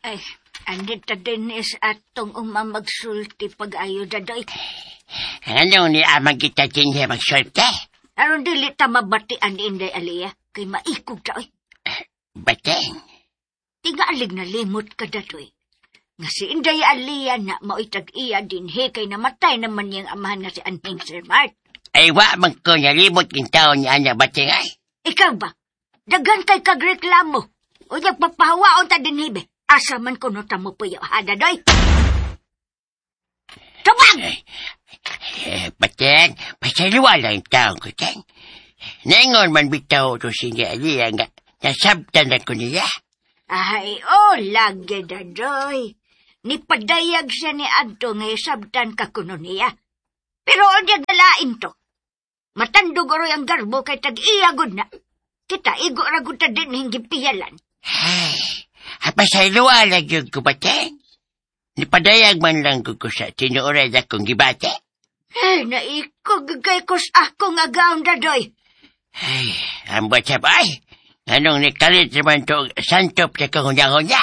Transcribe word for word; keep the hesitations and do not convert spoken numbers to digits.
Ay, andito din is atong umamagsulti pag-ayo, dadoy. Ano ni amang kita dinhi magsulti? Aron dili ta mabatian ni Inday Aliyah, kay maikog ta, oy. Bateng. Tingalig na limot ka, dadoy. Nga si Inday Aliyah na mao'y tag-iya dinhi kay namatay naman niyang amahan nga si Anhing Sir Mart. Ay wa man ko nalimot king taon niya ana bateng ay. Ikaw ba? Daghan kay kag reklamo. O nagpapahawaon ta dinhi be. Asa man kuno ta mo puyo, ha, dadoy? Tubag! Eh, bateng, pasayloa lang taon ko, teng. Ningon man bitaw to si Inday Aliyah nga nasabtan na ko niya. Ay, oh, lagi, dadoy. Nipadayag siya ni Adto nga isabtan ka kuno niya. Pero unya dalain to. Matandog oroy ang garbo kay tag-iya gud na. Kita igo ra gud ta din hinggi piyalan. Ay, pasayloa lang yun ko, bateng. Nipadayag man lang ko ko sa tinuoray akong gibati. Ay, naikog kay kus akong agaon, dadoy. Ay, ambot sa ay. Anong nikalit naman to santop sa kahunya-hunya?